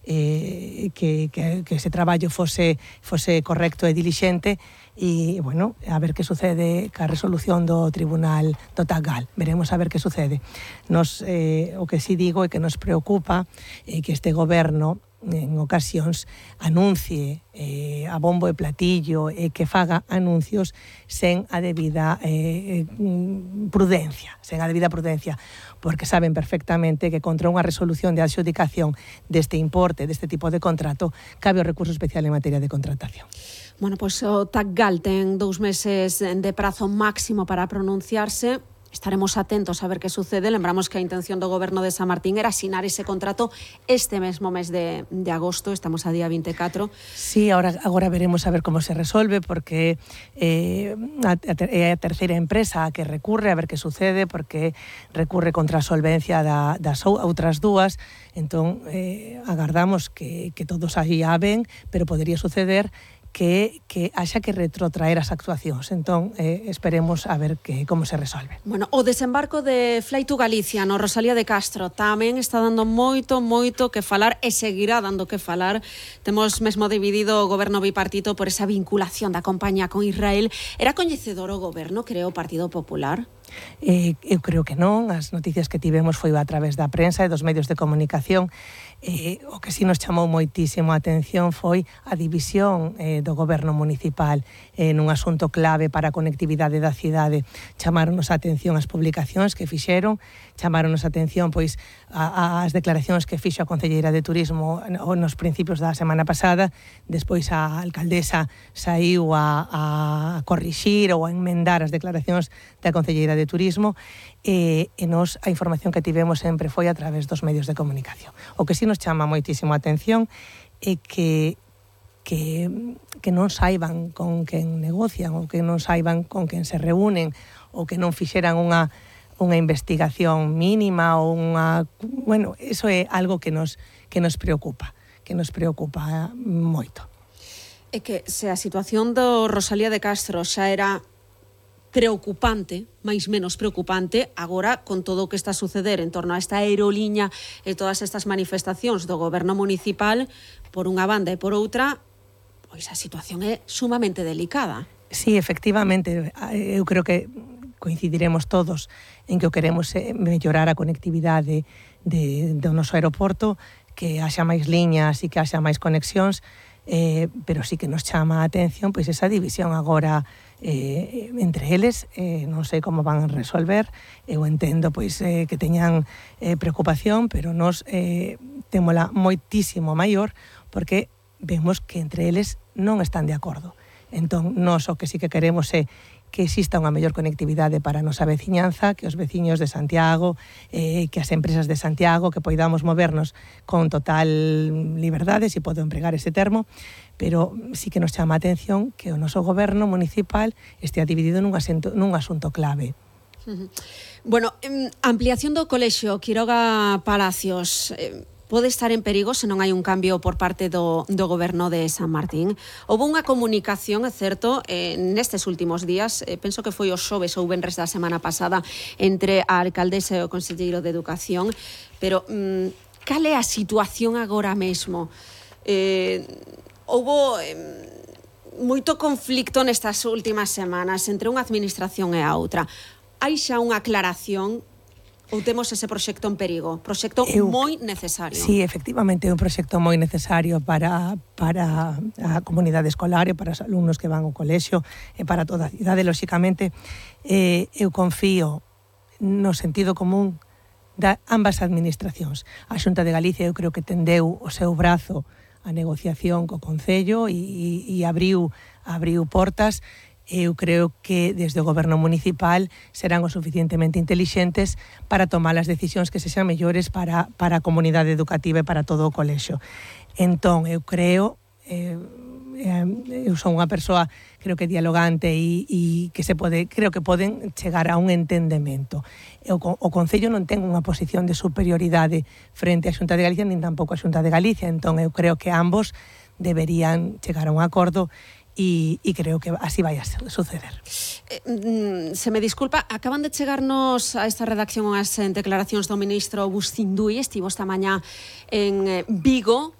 que ese traballo fose correcto e dilixente, e, bueno, a ver que sucede ca resolución do Tribunal do TACGAL. Veremos a ver que sucede. O que sí digo é que nos preocupa que este goberno en ocasións anuncie a bombo e platillo e que faga anuncios sen a debida prudencia, porque saben perfectamente que contra unha resolución de adxudicación deste importe, deste tipo de contrato, cabe o recurso especial en materia de contratación. Bueno, pois o TACGAL ten 2 meses de prazo máximo para pronunciarse. Estaremos atentos a ver que sucede. Lembramos que a intención do goberno de San Martín era asinar ese contrato este mesmo mes de agosto. Estamos a día 24. Sí, agora veremos a ver como se resolve, porque é a terceira empresa a que recurre, a ver que sucede, porque recurre contra a solvencia das outras dúas. Entón, agardamos que todo saia ben, pero podería suceder que haxa que retrotraer as actuacións. Entón, esperemos a ver como se resolve. Bueno, o desembarco de Fly to Galicia no Rosalía de Castro tamén está dando moito que falar e seguirá dando que falar. Temos mesmo dividido o goberno bipartito por esa vinculación da compañía con Israel. Era coñecedor o goberno, creo, o Partido Popular? Eu creo que non. As noticias que tivemos foi a través da prensa e dos medios de comunicación. O que sí nos chamou moitísimo a atención foi a división do goberno municipal nun asunto clave para a conectividade da cidade. Chamaronos a atención as publicacións que fixeron, chamaronos a atención pois as declaracións que fixo a concelleira de Turismo nos principios da semana pasada. Despois a alcaldesa saiu a corrixir ou a enmendar as declaracións da concelleira de Turismo, e nos a información que tivemos sempre foi a través dos medios de comunicación. O que sí nos chama moitísimo a atención é que non saiban con quen negocian, ou que non saiban con quen se reúnen, ou que non fixeran unha investigación mínima ou unha... Bueno, eso é algo que nos preocupa, moito. É que se a situación do Rosalía de Castro xa era preocupante, máis menos preocupante, agora con todo o que está a suceder en torno a esta aeroliña e todas estas manifestacións do goberno municipal, por unha banda e por outra, pois a situación é sumamente delicada. Sí, efectivamente, eu creo que coincidiremos todos en que o queremos mellorar a conectividade do noso aeroporto, que haxa máis liñas e que haxa máis conexións, pero sí que nos chama a atención pois esa división agora entre eles. Non sei como van a resolver. Eu entendo pois que teñan preocupación, pero nos témola moitísimo maior, porque vemos que entre eles non están de acordo. Entón, nós o que sí que queremos é que exista unha mellor conectividade para a nosa veciñanza, que os veciños de Santiago, que as empresas de Santiago, que poidamos movernos con total liberdade, se podo empregar ese termo, pero sí que nos chama a atención que o noso goberno municipal estea dividido nun asunto clave. Bueno, ampliación do colexio Quiroga Palacios pode estar en perigo se non hai un cambio por parte do goberno de San Martín. Houve unha comunicación, é certo, nestes últimos días, penso que foi o xoves ou venres da semana pasada, entre a alcaldesa e o conselleiro de Educación, pero cal é a situación agora mesmo? Houve moito conflicto nestas últimas semanas entre unha administración e a outra. Hai xa unha aclaración ou temos ese proxecto en perigo? Proxecto moi necesario. Sí, efectivamente, é un proxecto moi necesario para a comunidade escolar e para os alumnos que van ao colexio e para toda a cidade, lóxicamente. Eu confío no sentido común de ambas administracións. A Xunta de Galicia eu creo que tendeu o seu brazo a negociación co Concello e abriu portas. Eu creo que desde o goberno municipal serán o suficientemente intelixentes para tomar as decisións que sexan mellores para a comunidade educativa e para todo o colexio. Entón, eu creo, eu son unha persoa, creo que dialogante e que creo que poden chegar a un entendemento. O Concello non ten unha posición de superioridade frente á Xunta de Galicia, nin tampouco a Xunta de Galicia. Entón, eu creo que ambos deberían chegar a un acordo e creo que así vai a suceder. Se me disculpa, acaban de chegarnos a esta redacción as declaracións do ministro Agustín Dui. Estivo esta mañá en Vigo